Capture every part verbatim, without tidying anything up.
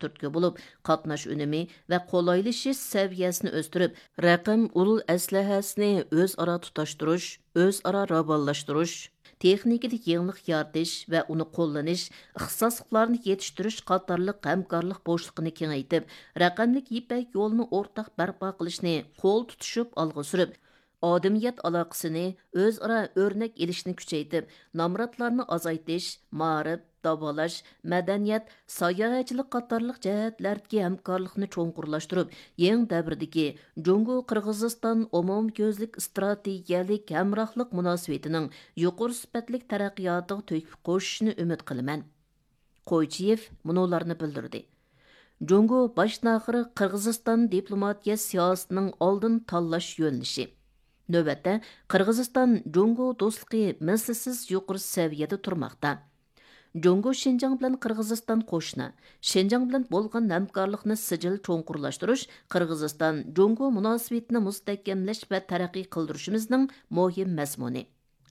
تۈرتكە بولۇپ، قاتناش ئۈنۈمى ۋە قولايلىشىش سەۋىيەسىنى ئۆستۈرۈپ، رەقەم ئۇل ئەسلىھەسىنى ئۆزئارا تۇتاشتۇرۇش، ئۆزئارا راۋانلاشتۇرۇش، تېخنىكىدا يېڭىلىق يارىتىش ۋە ئۇنى قوللىنىش، ئىختىساسلىقلارنى يېتىشتۈرۈش قاتارلىق ھەمكارلىق بوشلۇقىنى كېڭەيتىپ، رەقەملىك يىپەك يولىنى ئورتاق بەرپا قىلىشنى قول تۇتۇشۇپ ئالغا سۈرۈپ، ئادەمىيەت ئالاقىسىنى ئۆزئارا ئۆرنەك ئېلىشنى كۈچەيتىپ، نامراتلارنى ئازايتىش، مائارىپ، داۋالاش، مەدەنىيەت، ساياھەتچىلىك قاتارلىق جەھەتلەردىكى ھەمكارلىقنى چوڭقۇرلاشتۇرۇپ، يېڭى دەۋردىكى جۇڭگو قىرغىزىستان ئومۇميۈزلۈك ئىستراتېگىيەلىك ھەمراھلىق مۇناسىۋىتىنىڭ يۇقىرى سۈپەتلىك تەرەققىياتىغا تۆھپە قوشۇشىنى ئۈمىد قىلىمەن. قويچىيېف مۇنۇلارنى بىلدۈردى: جۇڭگو باشتىن-ئاخىر قىرغىزىستان دىپلوماتىيە سىياسىتىنىڭ ئالدىن تاللاش يۆنىلىشى. نۆۋەتتە، قىرغىزىستان جۇڭگو دوستلۇقى مىسلىسىز يۇقىرى سەۋىيەدە تۇرماقتا. جۇڭگو شىنجاڭ بىلەن قىرغىزىستان قوشنا، شىنجاڭ بىلەن بولغان ھەمكارلىقنى سىجىل چوڭقۇرلاشتۇرۇش قىرغىزىستان جۇڭگو مۇناسىۋىتىنى مۇستەھكەملەش ۋە تەرەققىي قىلدۇرۇشىمىزنىڭ مۇھىم مەزمۇنى.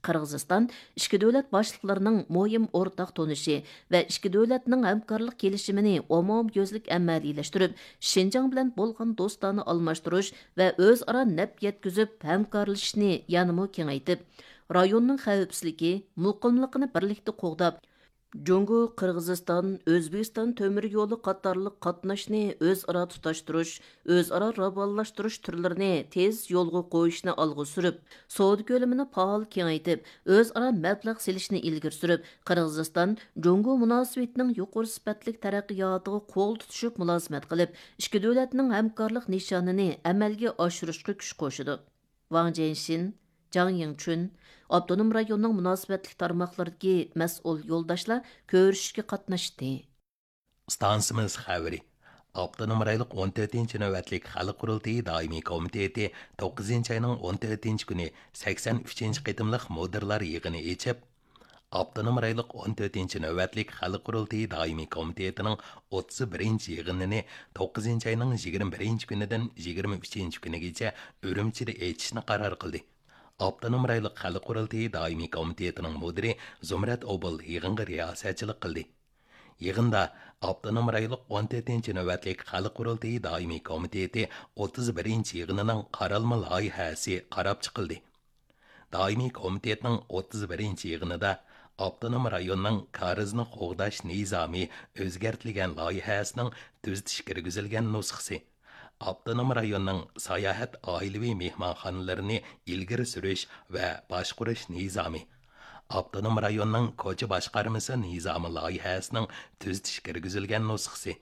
قىرغىزىستان ئىككى دۆلەت باشلىقلىرىنىڭ مۇھىم ئورتاق تونۇشى ۋە ئىككى دۆلەتنىڭ ھەمكارلىق كېلىشىمىنى ئومۇميۈزلۈك ئەمەلىيلەشتۈرۈپ، شىنجاڭ بىلەن بولغان دوستانە ئالماشتۇرۇش ۋە ئۆزئارا نەپ يەتكۈزۈپ ھەمكارلىشىشنى يەنىمۇ كېڭەيتىپ، رايوننىڭ خەۋپسىزلىكى، مۇقىملىقىنى بىرلىكتە قوغداپ، جۇڭگو، قىرغىزىستان، ئۆزبېكىستان تۆمۈر يولى قاتارلىق قاتناشنى ئۆزئارا تۇتاشتۇرۇش، ئۆزئارا راۋانلاشتۇرۇش تۈرلىرىنى تېز يولغا قويۇشنى ئالغا سۈرۈپ، سودا كۆلىمىنى پائال كېڭەيتىپ، ئۆزئارا مەبلەغ سېلىشنى ئىلگىرى سۈرۈپ، قىرغىزىستان جۇڭگو مۇناسىۋىتىنىڭ يۇقىرى سۈپەتلىك تەرەققىياتىغا قول تۇتۇشۇپ مۇلازىمەت قىلىپ، ئىككى دۆلەتنىڭ ھەمكارلىق نىشانىنى ئەمەلگە ئاشۇرۇشقا كۈچ قوشىدۇ. ۋاڭ جيەنشىن، جاڭ يىڭچۈن، ئاپتونوم رايوننىڭ مۇناسىۋەتلىك تارماقلىرىدىكى مەسئۇل يولداشلار كۆرۈشۈشكە قاتناشتى. ئىستانسىمىز خەۋىرى. ئاپتونوم رايونلۇق ئون تۆتىنچى نۆۋەتلىك خەلق قۇرۇلتىيى دائىمىي كومىتېتى توققۇزىنچى ئاينىڭ ئون تۆتىنچى كۈنى سەكسەن ئۈچىنچى قېتىملىق مۇدىرلار يىغىنى ئېچىپ، ئاپتونوم رايونلۇق ئون تۆتىنچى نۆۋەتلىك خەلق قۇرۇلتىيى دائىمىي كومىتېتىنىڭ ئوتتۇز بىرىنچى يىغىنىنى توققۇزىنچى ئاينىڭ يىگىرمە بىرىنچى كۈنىدىن يىگىرمە ئۈچىنچى كۈنىگىچە ئۈرۈمچىدە ئېچىشنى قارار قىلدى. ئاپتونوم رايونلۇق خەلق قۇرۇلتىيى دائىمىي كومىتېتىنىڭ مۇدىرى زۇمرەت ئوبۇل يىغىنغا رىياسەتچىلىك قىلدى. يىغىندا ئاپتونوم رايونلۇق ئون تۆتىنچى نۆۋەتلىك خەلق قۇرۇلتىيى دائىمىي كومىتېتى ئوتتۇز بىرىنچى يىغىنىنىڭ قارالما لايىھەسى قاراپ چىقىلدى. دائىمىي كومىتېتنىڭ ئوتتۇز بىرىنچى يىغىنىدا ئاپتونوم رايوننىڭ كارىزنى قوغداش نىزامى ئۆزگەرتىلگەن لايىھەسىنىڭ تۈزىتىش كىرگۈزۈلگەن نۇسخىسى، ئاپتونوم رايوننىڭ ساياھەت ئائىلىۋى مېھمانخانىلىرىنى ئىلگىرى سۈرۈش ۋە باشقۇرۇش نىزامى، ئاپتونوم رايوننىڭ كوچا باشقارمىسى نىزامى لايىھەسىنىڭ تۈزىتىش كىرگۈزۈلگەن نۇسخىسى،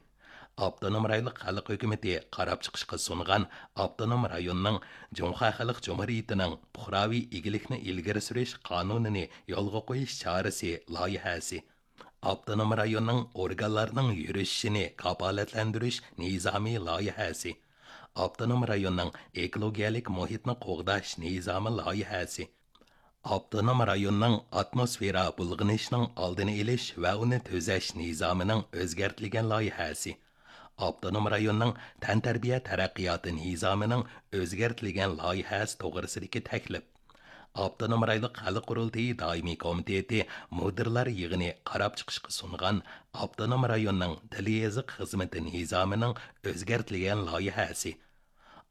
ئاپتونوم رايونلۇق خەلق ھۆكۈمىتى قاراپ چىقىشقا سۇنغان ئاپتونوم رايوننىڭ جۇڭخۇا خەلق جۇمھۇرىيىتىنىڭ پۇقراۋى ئىگىلىكنى ئىلگىرى سۈرۈش قانۇنىنى يولغا قويۇش چارىسى لايىھەسى، ئاپتونوم رايوننىڭ ئورگانلارنىڭ يۈرۈشۈشىنى كاپالەتلەندۈرۈش نىزامى لايىھەسى، ئاپتونوم رايوننىڭ ئېكولوگىيەلىك مۇھىتنى قوغداش نىزامى لايىھەسى، ئاپتونوم رايوننىڭ ئاتموسفېرا بۇلغىنىشىنىڭ ئالدىنى ئېلىش ۋە ئۇنى تۈزەش نىزامىنىڭ ئۆزگەرتىلگەن لايىھەسى، ئاپتونوم رايوننىڭ تەنتەربىيە تەرەققىياتى نىزامىنىڭ ئۆزگەرتىلگەن لايىھەسى توغرىسىدىكى تەكلىپ، ئاپتونوم رايونلۇق خەلق قۇرۇلتىيى دائىمىي كومىتېتى مۇدىرلار يىغىنى قاراپ چىقىشقا سۇنغان ئاپتونوم رايوننىڭ تىل يېزىق خىزمىتى نىزامىنىڭ ئۆزگەرتىلگەن لايىھەسى،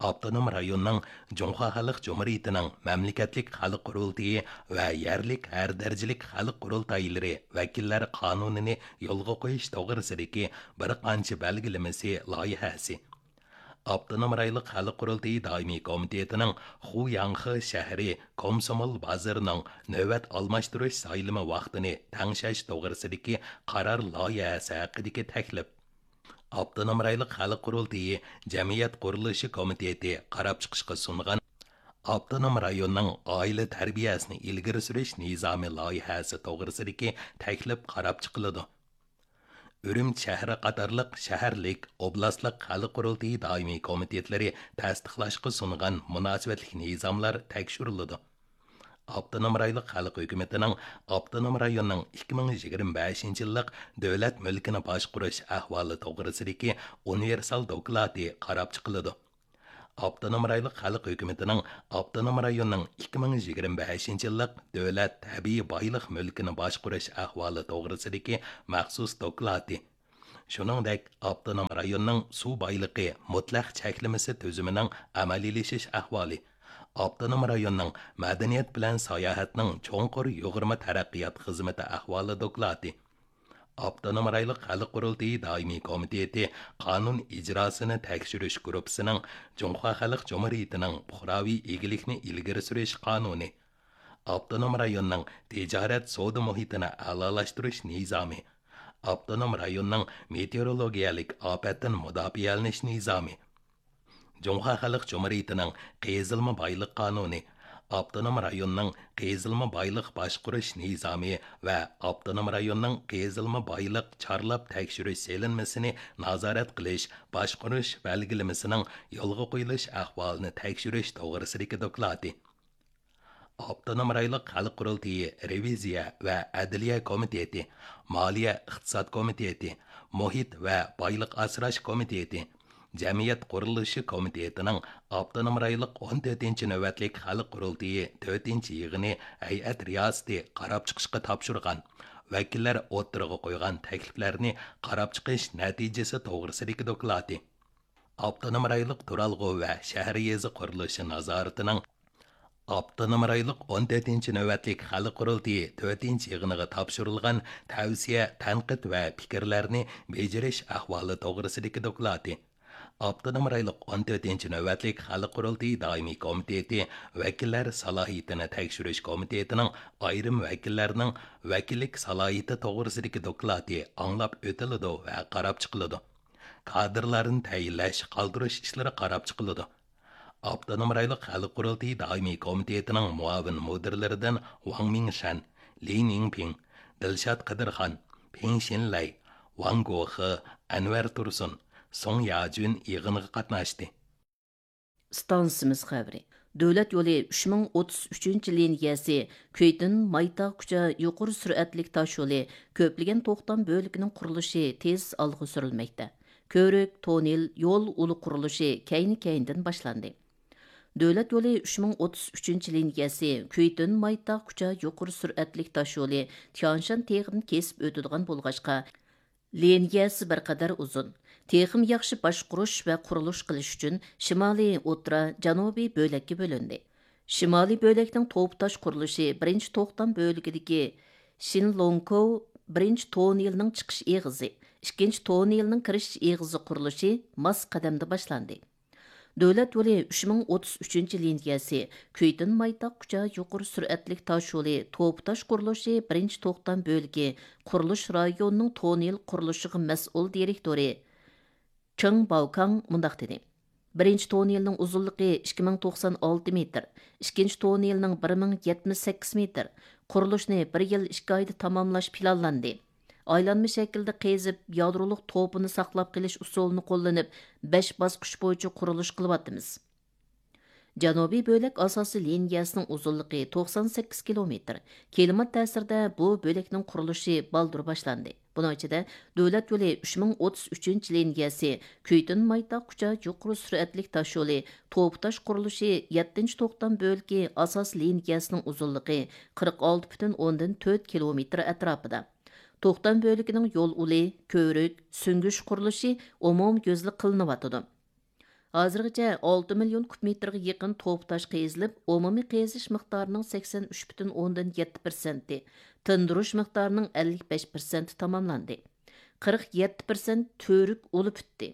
ئاپتونوم رايوننىڭ جۇڭخۇا خەلق جۇمھۇرىيىتىنىڭ مەملىكەتلىك خەلق قۇرۇلتىيى ۋە يەرلىك ھەر دەرىجىلىك خەلق قۇرۇلتايلىرى ۋەكىللەر قانۇنىنى يولغا قويۇش توغرىسىدىكى بىر قانچە بەلگىلىمىسى لايىھەسى، ئاپتونوم رايونلۇق خەلق قۇرۇلتىيى دائىمىي كومىتېتىنىڭ خۇياڭخې شەھىرى كومسومول بازىرىنىڭ نۆۋەت ئالماشتۇرۇش سايلىمى ۋاقتىنى تەڭشەش توغرىسىدىكى قارار لايىھەسى ھەققىدىكى تەكلىپ، ئاپتونوم رايونلۇق خەلق قۇرۇلتىيى جەمئىيەت قۇرۇلۇشى كومىتېتى قاراپ چىقىشقا سۇنغان ئاپتونوم رايوننىڭ ئائىلە تەربىيەسىنى ئىلگىرى سۈرۈش نىزامى لايىھەسى توغرىسىدىكى تەكلىپ قاراپ چىقىلىدۇ. ئۈرۈمچى شەھىرى قاتارلىق شەھەرلىك، ئوبلاستلىق خەلق قۇرۇلتىيى دائىمىي كومىتېتلىرى تەستىقلاشقا سۇنغان مۇناسىۋەتلىك نىزاملار تەكشۈرۈلىدۇ. ئاپتونوم رايونلۇق خەلق ھۆكۈمىتىنىڭ ئاپتونوم رايوننىڭ ئىككى مىڭ يىگىرمە بەشىنچى يىللىق دۆلەت مۈلكىنى باشقۇرۇش ئەھۋالى توغرىسىدىكى ئۇنىۋېرسال دوكلاتى قاراپ چىقىلىدۇ. ئاپتونوم رايونلۇق خەلق ھۆكۈمىتىنىڭ ئاپتونوم رايوننىڭ ئىككى مىڭ يىگىرمە بەشىنچى يىللىق دۆلەت تەبىئىي بايلىق مۈلكىنى باشقۇرۇش ئەھۋالى توغرىسىدىكى مەخسۇس دوكلاتى، شۇنىڭدەك، ئاپتونوم رايوننىڭ سۇ بايلىقى مۇتلەق چەكلىمىسى تۈزۈمىنىڭ ئەمەلىيلىشىش ئەھۋالى، ئاپتونوم رايوننىڭ مەدەنىيەت بىلەن ساياھەتنىڭ چوڭقۇر يۇغۇرما تەرەققىيات خىزمىتى ئەھۋالى دوكلاتى، ئاپتونوم رايونلۇق خەلق قۇرۇلتىيى دائىمىي كومىتېتى قانۇن ئىجراسىنى تەكشۈرۈش گۇرۇپپىسىنىڭ جۇڭخۇا خەلق جۇمھۇرىيىتىنىڭ پۇقراۋى ئىگىلىكنى ئىلگىرى سۈرۈش قانۇنى، ئاپتونوم رايوننىڭ تىجارەت سودا مۇھىتىنى ئەلالاشتۇرۇش نىزامى، ئاپتونوم رايوننىڭ مېتېئورولوگىيەلىك ئاپەتتىن مۇداپىئەلىنىش نىزامى، جۇڭخۇا خەلق جۇمھۇرىيىتىنىڭ قېزىلما بايلىق قانۇنى، ئاپتونوم رايوننىڭ قېزىلما بايلىق باشقۇرۇش نىزامى ۋە ئاپتونوم رايوننىڭ قېزىلما بايلىق چارلاپ تەكشۈرۈش سېلىنمىسىنى نازارەت قىلىش، باشقۇرۇش بەلگىلىمىسىنىڭ يولغا قويۇلۇش ئەھۋالىنى تەكشۈرۈش توغرىسىدىكى دوكلاتى. ئاپتونوم رايونلۇق خەلق قۇرۇلتىيى رېۋىزىيە ۋە ئەدلىيە كومىتېتى، مالىيە ئىقتىساد كومىتېتى، مۇھىت ۋە بايلىق ئاسراش كومىتېتى، جەمئىيەت قۇرۇلۇشى كومىتېتىنىڭ ئاپتونوم رايونلۇق ئون تۆتىنچى نۆۋەتلىك خەلق قۇرۇلتىيى تۆتىنچى يىغىنى ھەيئەت رىياسىتى قاراپ چىقىشقا تاپشۇرغان، ۋەكىللەر ئوتتۇرىغا قويغان تەكلىپلەرنى قاراپ چىقىش نەتىجىسى توغرىسىدىكى دوكلاتى. ئاپتونوم رايونلۇق تۇرالغۇ ۋە شەھەر يېزا قۇرۇلۇشى نازارىتىنىڭ ئاپتونوم رايونلۇق ئون تۆتىنچى نۆۋەتلىك خەلق قۇرۇلتىيى تۆتىنچى يىغىنىغا تاپشۇرۇلغان تەۋسىيە، تەنقىد ۋە پىكىرلەرنى بېجىرىش ئەھۋالى توغرىسىدىكى دوكلاتى. ئاپتونوم رايونلۇق ئون تۆتىنچى نۆۋەتلىك خەلق قۇرۇلتىيى دائىمىي كومىتېتى ۋەكىللەر سالاھىيىتىنى تەكشۈرۈش كومىتېتىنىڭ ئايرىم ۋەكىللەرنىڭ ۋەكىللىك سالاھىيىتى توغرىسىدىكى دوكلاتى ئاڭلاپ ئۆتۈلىدۇ ۋە قاراپ چىقىلىدۇ. كادىرلارنى تەيىنلەش، قالدۇرۇش ئىشلىرى قاراپ چىقىلىدۇ. ئاپتونوم رايونلۇق خەلق قۇرۇلتىيى دائىمىي كومىتېتىنىڭ مۇئاۋىن مۇدىرلىرىدىن ۋاڭ مىڭشەن، لى نىڭپىڭ، دىلشات قىدىرخان، پېڭ شىنلەي، ۋاڭ گوخې، ئەنۋەر تۇرسۇن، سۇڭ ياجۈن يىغىنغا قاتناشتى. ئىستانسىمىز خەۋىرى. دۆلەت يولى ئۈچ مىڭ ئوتتۇز ئۈچىنچى لىنىيەسى كۈيتۈن مايتاغ كۇچا يۇقىرى سۈرئەتلىك تاش يولى كۆپلىگەن توختام بۆلىكىنىڭ قۇرۇلۇشى تېز ئالغا سۈرۈلمەكتە. كۆۋرۈك، توننېل، يول ئۇلى قۇرۇلۇشى كەينى-كەينىدىن باشلاندى. دۆلەت يولى ئۈچ مىڭ ئوتتۇز ئۈچىنچى لىنىيەسى كۈيتۈن مايتاغ كۇچا يۇقىرى سۈرئەتلىك تاش يولى تيانشان تېغىدىن كېسىپ ئۆتىدىغان بولغاچقا، لىنىيەسى بىر قەدەر ئۇزۇن. تېخىمۇ ياخشى باشقۇرۇش ۋە قۇرۇلۇش قىلىش ئۈچۈن شىمالىي، ئوتتۇرا، جەنۇبىي بۆلەككە بۆلۈندى. شىمالىي بۆلەكنىڭ توپا تاش قۇرۇلۇشى بىرىنچى توختام بۆلىكىدىكى شىنلوڭكوۋ بىرىنچى توننېلىنىڭ چىقىش ئېغىزى، ئىككىنچى توننېلىنىڭ كىرىش ئېغىزى قۇرۇلۇشى ماس قەدەمدە باشلاندى. دۆلەت يولى ئۈچ مىڭ ئوتتۇز ئۈچىنچى لىنىيەسى كۈيتۈن مايتاغ كۇچا يۇقىرى سۈرئەتلىك تاش يولى توپا تاش قۇرۇلۇشى بىرىنچى توختام بۆلىكى قۇرۇلۇش رايونىنىڭ توننېل قۇرۇلۇشىغا مەسئۇل دىرېكتورى كېڭ باۋكاڭ مۇنداق دېدى: بىرىنچى توننېلنىڭ ئۇزۇنلۇقى ئىككى مىڭ توقسان ئالتە مېتىر، ئىككىنچى توننېلنىڭ بىر مىڭ يەتمىش سەككىز مېتىر. قۇرۇلۇشنى بىر يىل ئىككى ئايدا تاماملاش پىلانلاندى. ئايلانما شەكىلدە قېزىپ، يادرولۇق توپىنى ساقلاپ قېلىش ئۇسۇلىنى قوللىنىپ، بەش باسقۇچ بويىچە قۇرۇلۇش قىلىۋاتىمىز. جەنۇبىي بۆلەك ئاساسىي لىنىيەسىنىڭ ئۇزۇنلۇقى توقسان سەككىز كىلومېتىر. كىلىمات تەسىرىدە بۇ بۆلەكنىڭ قۇرۇلۇشى بالدۇر باشلاندى. بۇنىڭ ئىچىدە، دۆلەت يولى ئۈچ مىڭ ئوتتۇز ئۈچىنچى لىنىيەسى كۈيتۈن مايتاغ كۇچا يۇقىرى سۈرئەتلىك تاش يولى توپا تاش قۇرۇلۇشى يەتتىنچى توختام بۆلىكى ئاساسىي لىنىيەسىنىڭ ئۇزۇنلۇقى قىرىق ئالتە پۈتۈن ئوندىن تۆت كىلومېتىر ئەتراپىدا. توختام بۆلىكىنىڭ يول ئۇلى، كۆۋرۈك، سۈڭگۈچ قۇرۇلۇشى ئومۇميۈزلۈك قىلىنىۋاتىدۇ. ھازىرغىچە ئالتە مىليون كۇب مېتىرغا يېقىن توپا تاش قېزىلىپ، ئومۇمىي قېزىش مىقدارىنىڭ سەكسەن ئۈچ پۈتۈن ئوندىن يەتتە پىرسەنتى، تىندۇرۇش مىقدارىنىڭ ئەللىك بەش پىرسەنتى تاماملاندى. قىرىق يەتتە پىرسەنت تۈۋرۈك ئۇلى پۈتتى.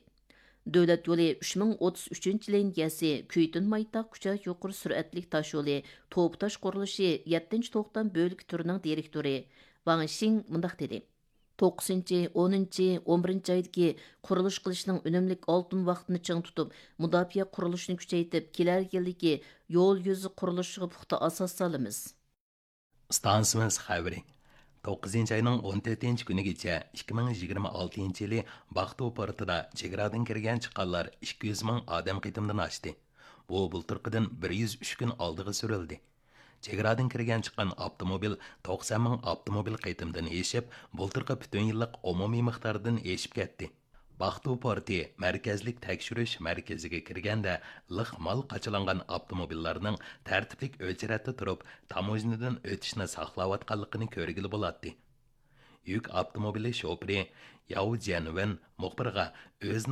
دۆلەت يولى ئۈچ مىڭ ئوتتۇز ئۈچىنچى لىنىيەسى كۈيتۈن مايتاغ كۇچا يۇقىرى سۈرئەتلىك تاش يولى توپا تاش قۇرۇلۇشى يەتتىنچى توختام بۆلىكى تۈرىنىڭ دىرېكتورى ۋاڭ شىڭ مۇنداق دېدى: توققۇزىنچى، ئونىنچى، ئون بىرىنچى ئايدىكى قۇرۇلۇش قىلىشنىڭ ئۈنۈملۈك ئالتۇن ۋاقتىنى چىڭ تۇتۇپ، مۇداپىئە قۇرۇلۇشىنى كۈچەيتىپ، كېلەر يىلدىكى يول يۈزى قۇرۇلۇشىغا پۇختا ئاساس سالىمىز. ئىستانسىمىز خەۋىرى. توققۇزىنچى ئاينىڭ ئون تۆتىنچى كۈنىگىچە ئىككى مىڭ يىگىرمە ئالتىنچى يىلى باقتۇ پورتىدا چېگرادىن كىرگەن چىققانلار ئىككى يۈز مىڭ ئادەم قېتىمدىن ئاشتى. بۇ بۇلتۇرقىدىن بىر يۈز ئۈچ كۈن ئالدىغا سۈرۈلدى. چېگرادىن كىرگەن چىققان ئاپتوموبىل توقسان مىڭ ئاپتوموبىل قېتىمدىن ئېشىپ، بۇلتۇرقى پۈتۈن يىللىق ئومۇمىي مىقداردىن ئېشىپ كەتتى. باقتۇ پورتى مەركەزلىك تەكشۈرۈش مەركىزىگە كىرگەندە، لىق مال قاچىلانغان ئاپتوموبىللارنىڭ تەرتىپلىك ئۆچرەتتە تۇرۇپ، تاموژنىدىن ئۆتۈشنى ساقلاۋاتقانلىقىنى كۆرگىلى بولاتتى. يۈك ئاپتوموبىلى شوپۇرى ياۋ جيەنۋېن مۇخبىرغا ئۆزىنىڭ